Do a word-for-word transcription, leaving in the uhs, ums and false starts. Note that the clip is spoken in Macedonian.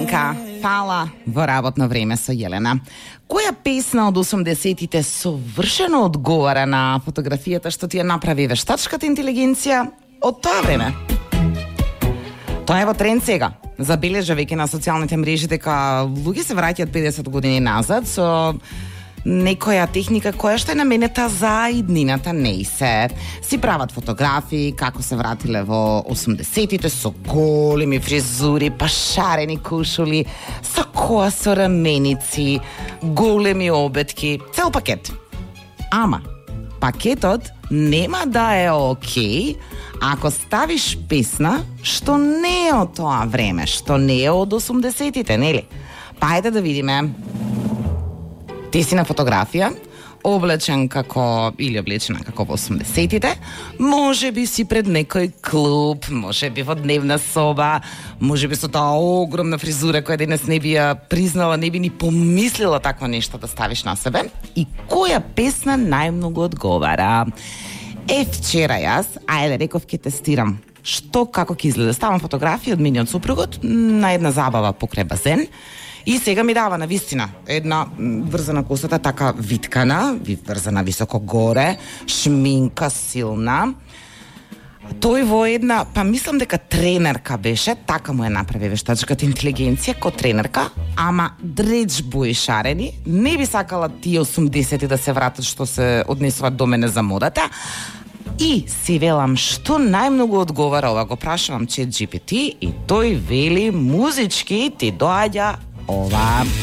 Ленка, фала во работно време со Јелена. Која песна од осумдесетите совршено одговара на фотографијата што ти ја направи вештачката интелигенција од тоа време? Тоа е во тренд сега. Забележа веќе на социјалните мрежи дека луѓе се враќаат педесет години назад со некоја техника која што е наменета за иднината, не и се. Си прават фотографии како се вратиле во осумдесетите со големи фризури, пашарени кушули, со коа со раменици, големи обетки, цел пакет. Ама, пакетот нема да е окей ако ставиш песна што не е од тоа време, што не е од осумдесетите, нели? Па ајде да видиме. Ти си на фотографија, облечен како, или облечена како во осумдесетите, може би си пред некој клуб, може би во дневна соба, може би со таа огромна фризура која денес не би ја признала, не би ни помислила такво нешто да ставиш на себе. И која песна најмногу одговара? Е, вчера јас, ајде реков ќе тестирам што како ќе изгледа. Ставам фотографија од миниот супругот на една забава покрај базен. И сега ми дава на вистина една врзана косата, така виткана, врзана високо горе, шминка силна. Тој во една, па мислам дека тренерка беше, така му е направи вештачката интелигенција, ко тренерка, ама дреч бои шарени. Не би сакала тие осумдесети да се вратат што се однесуваат до мене за модата. И си велам што најмногу одговара ова, го прашувам Чет Джи Пи Ти и тој вели музички ти доаѓа ова.